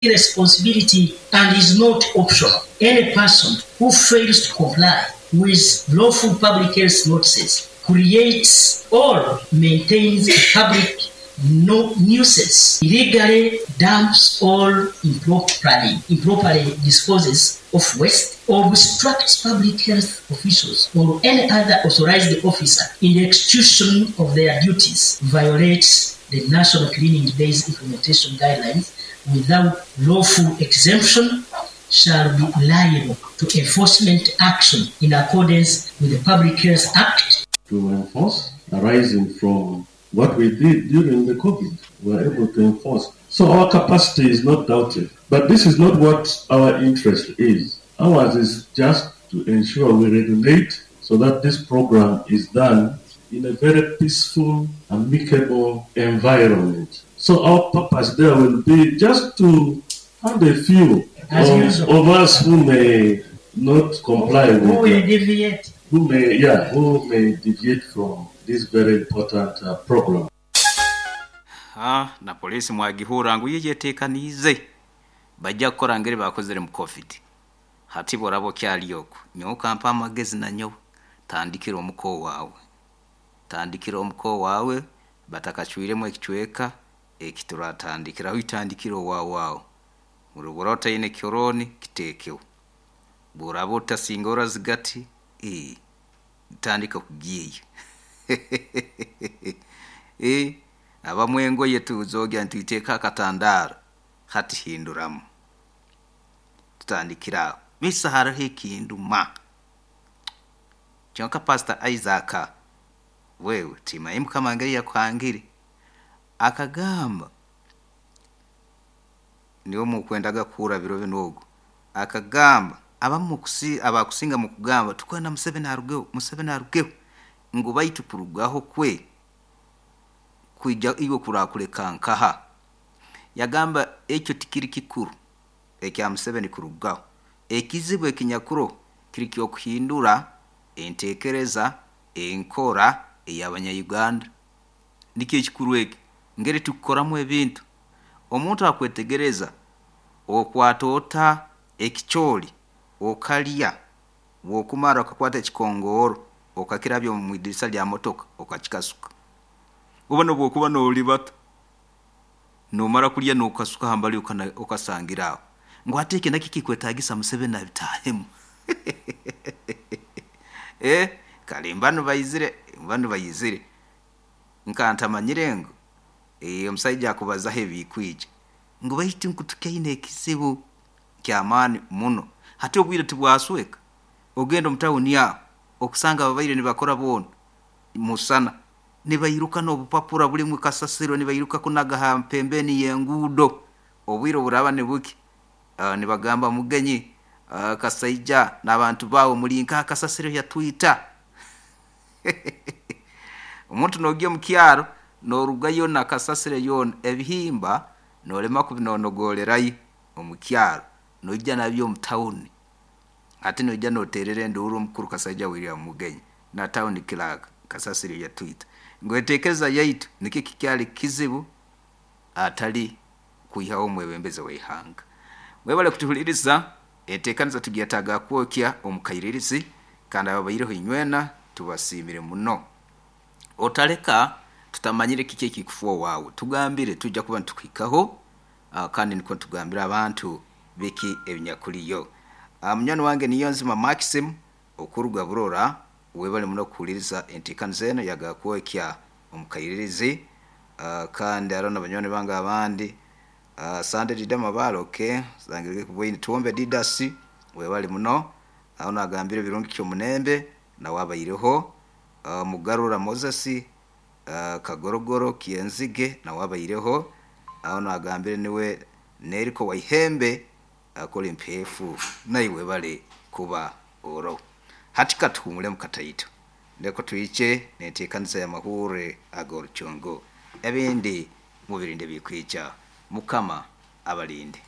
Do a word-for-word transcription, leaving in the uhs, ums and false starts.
Responsibility and is not optional. Any person who fails to comply with lawful public health notices creates or maintains a public no nuisance, illegally dumps or improperly, improperly disposes of waste, obstructs public health officials or any other authorized officer in the execution of their duties, violates the National Cleaning Days Implementation Guidelines without lawful exemption shall be liable to enforcement action in accordance with the Public Health Act. To enforce, arising from what we did during the COVID, we were able to enforce. So our capacity is not doubted. But this is not what our interest is. Ours is just to ensure we regulate so that this program is done in a very peaceful, amicable environment. So our purpose there will be just to find a few of, of us who may not comply Who with will the, deviate? who may yeah who may deviate from this very important uh, program. Ha, na polisi mwagihura ngu yeyetekaniize bajja kukora ngeri bakozere mu covid. Hati boraba okyali okwo, nyowe kampa amagezi nanyowe, tandikira omuko waawe, tandikira omuko waawe batakacwiremu ekicweka ekituratandikiraho, itandikira owaawe aho. Bw'oraba otaine kihoronio kiteekeho, bw'oraba otasinga orazigati, ee, tandika kugiiya. Ee, abamwe engoye tuzogya nituiteeka akatandaro, hati hinduramu, tutandikira aho. Misa hariho ekinduma kyonka Pastor Isaac wewe timanyi Mukama ngeri yakuhangire, akagamba niwe mukwendaga kuhurra biro binu ogu, akagamba abamu kusi abakusinga mu kugamba tukwenda Museveni arugeho, Museveni arugeho, ngu baitu kurugaho kwe kwija iwe kurakuleka nkaha. Yagamba ekyo tikiri kikuru ekya Museveni kurugaho, ekizibu ekinyakuro kiri ky'okuhindura entekereza enkora ey'abanya-Uganda. Nikyo ekikuru eki ngeri tukukoramu ebintu. Omuntu akwetegereza okwata ota ekicoori okalya, bw'okumara okakwata ekikongooro okakirabya omu idirisa lya motoka okakikasuka, oba nobwokuba noolibata nomara kulya nokasuka hambali okasangira aho, ngu hati eki nakyo kikwetagisa Museveni abitaahemu. Eh, kare mbanu baizire, mbanu baizire nkantamanyire ngu eh, omusaija akubazaho ebikwija ngu baitu nku tukaine ekizibu ky'amaani muno. Hati obwire tibwasweka, ogenda omu tawuni aho okusanga ababaire nibakora boona musana nibairuka n'obupapura bulimu kasasiro, nibairuka kunaga ha pembeni y'enguudo. Obwire oburaba nibuki, uh, nibagamba Mugenyi, uh, Kasaija n'abantu baawe muri nkaha kasasiro yatwita. Omuntu noogya omu kyaro noorugayo na kasasiro yoona, ebihimba noolema kubinonogorerayo omu kyaro, noija nabyo omu tawuni. Hati noija nooterera enduuru omukuru Kasaija William Mugenyi na tawuni clerk kasasiro yatwita. Ngu enteekereza yaitu nikyo kikyali kizibu atali kwihaho omwebembezi w'eihanga. Mwebale kutuhuliriza, enteekaniza tugyetaaga kwokya omu kairirizi, kandi ababaireho inywena tubasiimire muno. Otaleka tutamanyire kiki ekikufa owaawe, tugambire tujja kuba nitukuhikaho, uh, kandi nikwo tugambira abantu biki ebinyakuliyo. Uh, munywani wange Niyonzima Maxim okuruga Burora, webale muno kuhuliriza enteekaniza eno yagakwokya omu kairirizi. Uh, kandi hariho na banywani bange abandi, uh, Sande Dida Mabale, okay, kubwaine Tuwombe Didasi, webale muno. Aho nagambire Birungi Kyomunembe nawe abaireho, uh, Mugarura Moses, uh, Kagorogoro Kienzige nawe abaireho. Aho nagambire niwe Neriko Waihembe akora empeefu, naiwe bale kuba oro. Hati katuhumulemu kataito, ndeko twiche nenteekaniza y'amahure ag'oruchongo, ebindi mubirinde bikwija. Mukama abalinde.